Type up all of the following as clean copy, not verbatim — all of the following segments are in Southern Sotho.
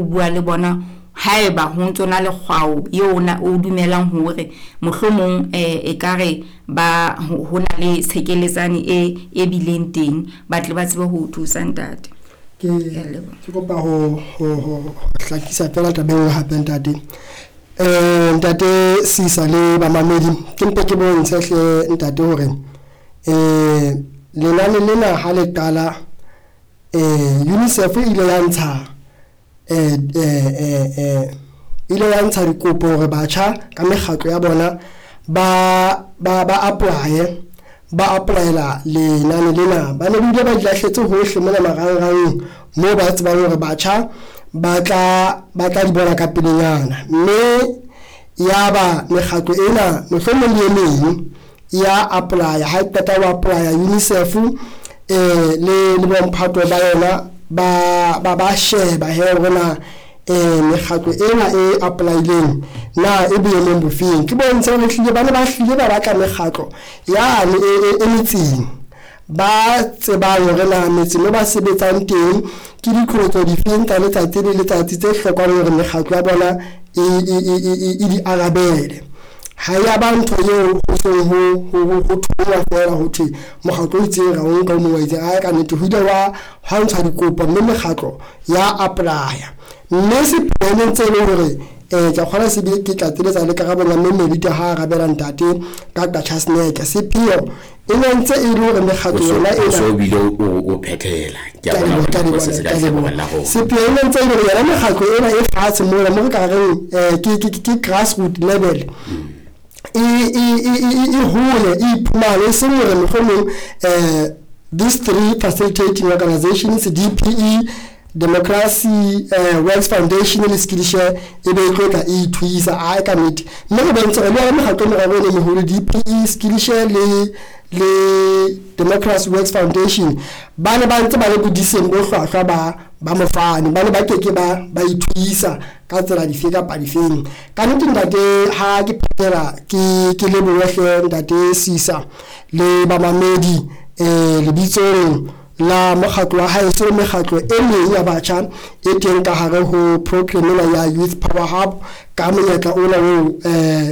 ho bua le bona haeba ho ntso na le kgwao eo o dumelang hore mohlomong ekare ba ho na le tshekeletsane e bileng teng, ba tle ba tsebe ho o thusa ntate. Ke kopa ho hlakisa fela taba e nngwe hape ntate. Ntate Sisa le bamamedi, ke mpe ke bontshe hle ntate hore lenane lena ha le qala, UNICEF e ile ya ntsha ile ya ntsha dikopo hore batjha ka mekgatlo ya bona ba apply, ba applyela lenane lena. Ba ne bile ba di lahletse hohle mona marangrang moo ba tsebang hore batjha ba tla di bona ka pelenyana, mme ya ba mekgatlo ena mohlomong le e meng ya apply. Ha e qeta ho apply, UNICEF le bomphato ba yona ba sheba he hore na mekgatlo ena e apply-ileng na e boemong bofeng. Ke bontshe hore ehlile ba ne ba hlile ba batla mekgatlo yane e metseng, ba tsebang hore na metseng mo ba sebetsang teng ke diqholotso difeng tsa letsatsi le letsatsi tse hlokang hore mekgatlo ya bona e di arabele. Ha ya ba ntho eo ho seng ho thongwa feela ho thwe mokgatlo o itseng ra o nka o mong wa itseng. Ae, ka nnete ho ile hwa ntshwa dikopo mme mekgatlo ya apply-a, mme sepheo ntse e le hore ke a kgona se bile ke tlatseletsa le karabong ya mme Melita ha arabela ntate ka Qacha's Nek. Sepheo e ne ntse e le hore mekgatlo yona ena so bile o phethela. Ke a bona hore se ka tlhokomela ho sepheo e ne ntse e le hore yona mekgatlo ena e fatshe mona mo re ka reng ke grassroot level e hole, e iphumane, e seng hore mohlomong these three facilitating organizations, DPE, Democracy Works Foundation le Skillshare, e be e tlo tla e ithuisa. Ae, ka nnete, mme re bontshe hore le yona mekgatlo e meraro e meholo, DPE, Skillshare le Democracy Works Foundation, ba ne ba ntse ba le bodiseng bo hlwahlwa ba mofani, ba ne ba keke ba ithuisa ka tsela dife kapa difeng. Ka nnete ntate, ha ke phethela ke lebohe hle ntate Sisa le bamamedi lebitsong la mokgatlo wa haeso le mekgatlo e meng ya batjha e teng ka hare ho program ena ya Youth Power Hub, ka monyetla ona oo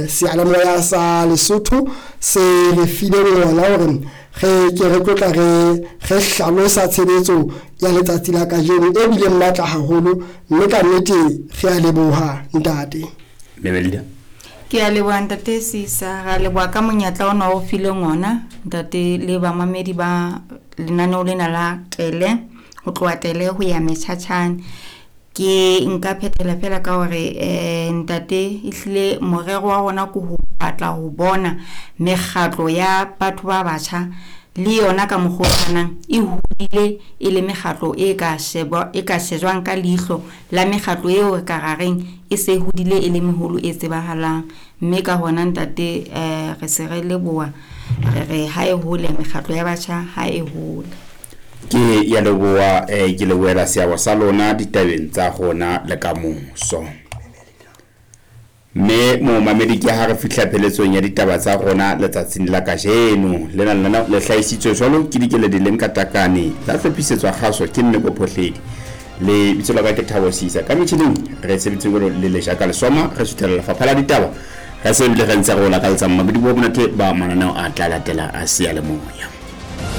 seyalemoya sa Lesotho se re fileng ona hore re ke re tlotla re hlalosa tshebetso ya letsatsi la kajeno e bileng matla haholo, mme ka nnete re a leboha ntate. Memelda. Ke a leboha ntate Sisa, ra leboha ka monyetla ona o fileng ona ntate le bamamedi ba lenaneo lena la Tele, ho tloha Tele ho ya Metjhatjhane. Ke nka phethela fela ka hore ntate ehlile morero wa rona ke ho batla ho bona mekgatlo ya batho ba batjha le yona ka mokgwa o tshwanang e hodile e le mekgatlo e ka shejwang ka leihlo la mekgatlo eo re ka ra reng e se hodile e le meholo e tsebahalang. Mme ka hona ntate re se re leboha, re re ha e hole mekgatlo ya batjha, ha e hole. Ke ya leboha, ke lebohela seabo sa lona ditabeng tsa rona le kamoso. Mme momamedi, ke ha re fihla pheletsong ya ditaba tsa rona letsatsing la kajeno. Lena lena le hlahisitswe jwalo ke Dikeledi le Nkatakane, la hlophisetswa kgaso ke Nneko Phohledi. Le bitso la ka ke Thabo Sisa. Ka metjhining re sebeditse jwalo le Lejaka Lesoma, re suthela lefapha la ditaba. Re se bile re ntse re o lakaletsa mmamedi bo monate ba mananeo a tla latela a seyalemoya.